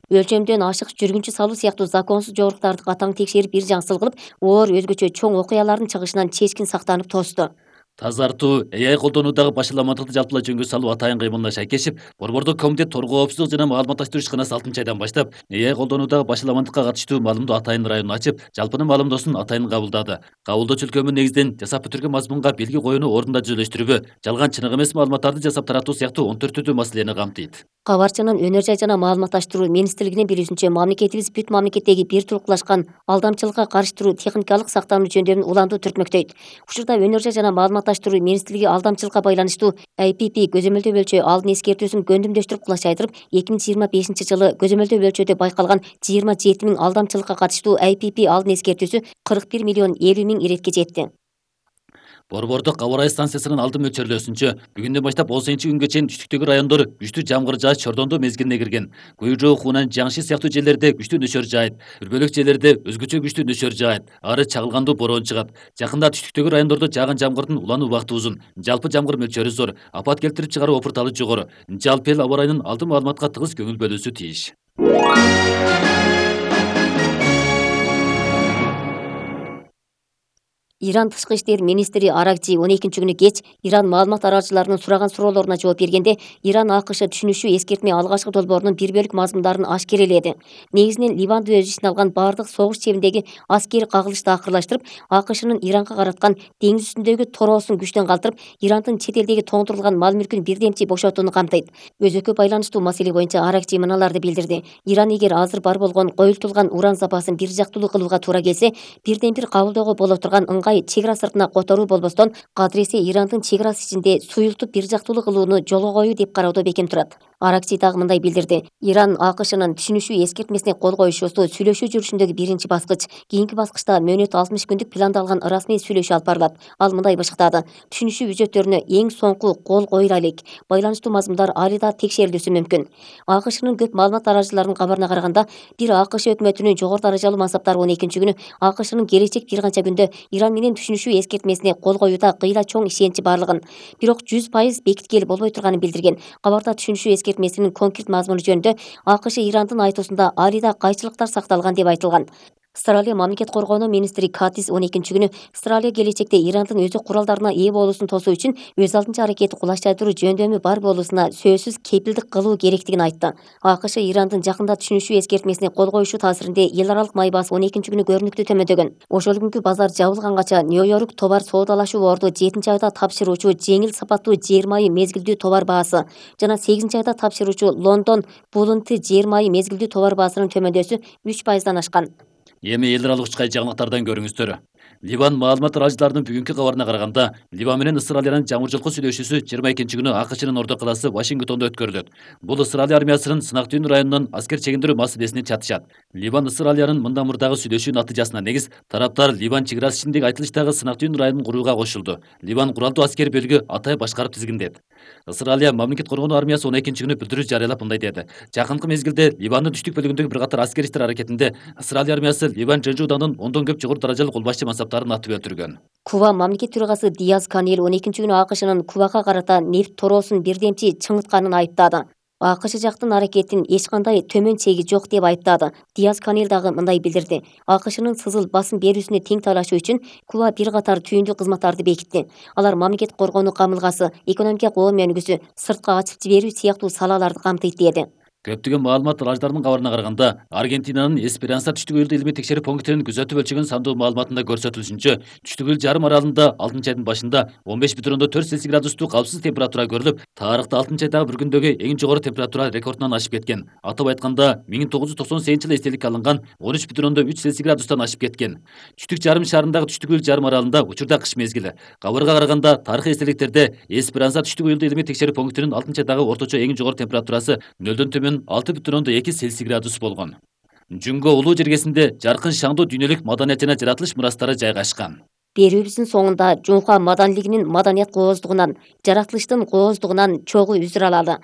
өлчөмдөн ашык жүргүнчү салуу сыяктуу законсуз жоруктарды катаң текшерип, бир жаңсыл кылып, оор өзгөчө чоң окуялардын чыгышынан чечкин сактанып тосту. Тазартуу, AI колдонуудагы башаламандыкты жалпылай жөнгө салуу атайын кыймылына шайкешип, Борбордук комитет торгоо коопсуздук жана маалыматташтыруу ишканасы 6-айдан баштап AI колдонуудагы башаламандыкка катыштуу маалымдоо атайын районун ачып, жалпынын маалымдоосун атайын кабылдады. Кабылдоо чөлкөмү негизинен жасап бүтүргөн мазмунга белги коюуну ордунда жүзөлөштүрүүгө, жалган чыныгы эмес маалыматтарды жасап таратуу сыяктуу 14 түрдүү маселени камтыйт. Кабарчынын өнөр жай жана маалыматташтыруу министрлигинин билүүсүнчө, мамлекетибиз бүт мамлекеттеги бир турукталышкан алдамчылыкка каршы туруу техникалык сактануу жөндөмүн улантуу түртмөктөйт. Учурда өнөр жай жана маалыматташтыруу министрлиги алдамчылыкка байланыштуу IPP көзөмөлдөө бөлчө алдын эскертүүсүн көндүмдөштүрүп кулачайдырып, 2025-жылы көзөмөлдөө бөлчөдө байкалган 27 000 алдамчылыкка катыштуу IPP алдын эскертүүсү 41 миллион 50 000 иретке жетти. Борбордук аба ырайы станциясынын алды мөлчөрлөөсүнчө, бүгүндөн баштап 18-күнгө чейин түштүктөгү райондор күчтүү жамгыр жааш чордондоо мезгилине кирген. Гуйжоо, Хунан, Жаңши сыяктуу жерлерде күчтүү нөшөр жаайт. Үрбөлөк жерлерде өзгөчө күчтүү нөшөр жаайт. Ары чагылгандуу бороон чыгат. Жакында түштүктөгү райондордо жааган жамгырдын улануу убакыты узун. Жалпы жамгыр мөлчөрү зор. Апат келтирип чыгаруу опурталы жогору. Жалпы эл аба ырайынын алды маалыматка тыгыз көңүл бөлүүсү тийиш. Иран тышкы иштер министри Аракчи 12-күнү кеч Иран маалымат аралчыларынын сураган суроолоруна жооп бергенде, Иран АКШ түшүнүшү эскертме алгачкы долбоорунун бир бөлүк мазмундарын ашкереледи. Негизинен Ливанды өз ичине алган бардык согуш чебиндеги аскери кагылышты акырлаштырып, АКШнын Иранга караткан деңиз үстүндөгү тороосун күчтөн калтырып, Ирандын чет элдеги тоңдурулган мал мүлкүн бирдемчи бошотууну камтыйт. Өзөккө байланыштуу маселе боюнча Аракчи мыналарды билдирди. Иран эгер азыр бар болгон коюлтулган уран запасын бир жактуулуу кылууга туура келсе, бирден бир кабылдөөгө боло турган чек ара сыртына которуу болбостон, кадыресе Ирандын чек арасы ичинде суюлтуп бир жактуулуу кылууну жолго коюу деп кароодо бекем турат. Аракчи дагы мындай билдирди. Иран АКШнын түшүнүшү эскертмесине кол коюшуусу сүйлөшүү жүрүшүндөгү биринчи баскыч. Кийинки баскычта мөөнөт 60 күндүк пландалган расмий сүйлөшүү алып барылат. Ал мындай бышыктады. Түшүнүшүү үзөттөрүнө эң соңку кол коюла элек. Байланыштуу мазмундар али да текшерилүүсү мүмкүн. АКШнын көп маалымат аралчыларынын кабарына караганда, бир АКШ өкмөтүнүн жогору даражалуу мансаптары 12-күнү АКШнын келечек бир канча күндө Иран менен түшүнүшүү эскертмесине кол коюуда кыйла чоң ишеничи барлыгын, бирок 100% бекиткели болбой турганын билдирген. Кабарда түшүнүшүү эскертмесинин конкрет мазмуну жөнүндө АКШ Ирандын айтуусунда али да кайчылыктар сакталган деп айтылган. Австралия мамлекет коргоонуу министри Катис 12-күнү Австралия келечекте Ирандын өзү куралдарына ээ болуусун тосуу үчүн өз алдынча аракети кулачтайдыруу жөндөмү бар болуусуна сөзсүз кепилдик кылуу керектигин айтты. АКШ Ирандын жакында түшүнүшүү эскертмесине кол коюшу таасиринде эл аралык май баасы 12-күнү көрүнүктүү төмөдөгөн. Ошол күнкү базар жабылгангаcha Нью-Йорк товар соодалашуу борду 7-айда тапшыруучу жеңил сапаттуу жер майы мезгилдүү товар баасы жана 8-айда тапшыруучу Лондон булунты жер майы мезгилдүү товар баасынын төмөндөсү 3%дан ашкан. Эми эл аралык учкай жаңылыктардан көрүңүздөр. Ливан маалымат аралчыларынын бүгүнкү кабарына караганда, Ливан менен Австралиянын жаңы жолку сүйлөшүүсү 22-күнү АКШнын ордо калаасы Вашингтондо өткөрүлөт. Бул Австралия армиясынын Сынак Дүйүн районунан аскер чегиндирүү маселесини чатышат. Ливан Австралиянын мындан мурдагы сүйлөшүүнүн натыйжасына негиз тараптар Ливан чек арасы ичиндеги айтылыштагы Сынак Дүйүн районун курууга кошулду. Ливан куралдуу аскер бөлүгү атай башкарып тизгиндет. Австралия мамлекет коргоонуу армиясы 12-күнү билдирүү жарыялап мындай деди. Жакынкы мезгилде Ливандын түштүк бөлүгүндөгү бир катар аскер иштер аракетинде Австралия армиясы Ливан ЖЖУ-нын ондон көп жогору даражалуу кол башчы мансаптарын атып өлтүргөн. Куба мамлекет төрагасы Диаз Канел 12-күнү АКШнын Кубага карата нефт тороосун бирдемчи чыңытканын айыптады. АКШ жактын аракетин эч кандай төмөн чеги жок деп айыптады. Диаз Канел дагы мындай билдирди. АКШнын сызыл басым берүүсүнө тең талашуу үчүн Куба бир катар түйүндүү кызматтарды бекитти. Алар мамлекет коргоонуу камылгасы, экономика коом өнүгүүсү, сыртка ачып жиберүү сыяктуу салаларды камтыйт деди. Көптөгөн маалымат аралчыларынын кабарына караганда, Аргентинанын Эсперанса түштүк ылдуу илимий текшерүү пунктунун күзөтүп өлчөгөн сандуу маалыматында көрсөтүлүшүнчө, түштүк ыл жарым аралында 6-айдын башында 15,4 Цельсий градустуу калпсыз температура көрүлүп, тарыхта 6-айдагы бир күндөгү эң жогору температура рекордунан ашып кеткен. Атап айтканда, 1998-жылы эстеликке алынган 13,3 Цельсий градустан ашып кеткен. Түштүк жарым шарындагы түштүк ыл жарым аралында учурда кыш мезгили. Кабарга караганда, тарыхый эстеликтерде Эсперанса түштүк ылдуу илимий текшерүү пунктунун 6-айдагы орточо эң жогору температурасы 0-дөн төмөн 6,2 Цельсий градус болгон. Жүнгө улуу жергесинде жаркын шаңдуу дүйнөлүк маданият жана жаратылыш мурастары жайгашкан. Берүүбүздүн соңунда Жунха маданилигинин маданият кооздугунан, жаратылыштын кооздугунан чогуу үзүр алалы.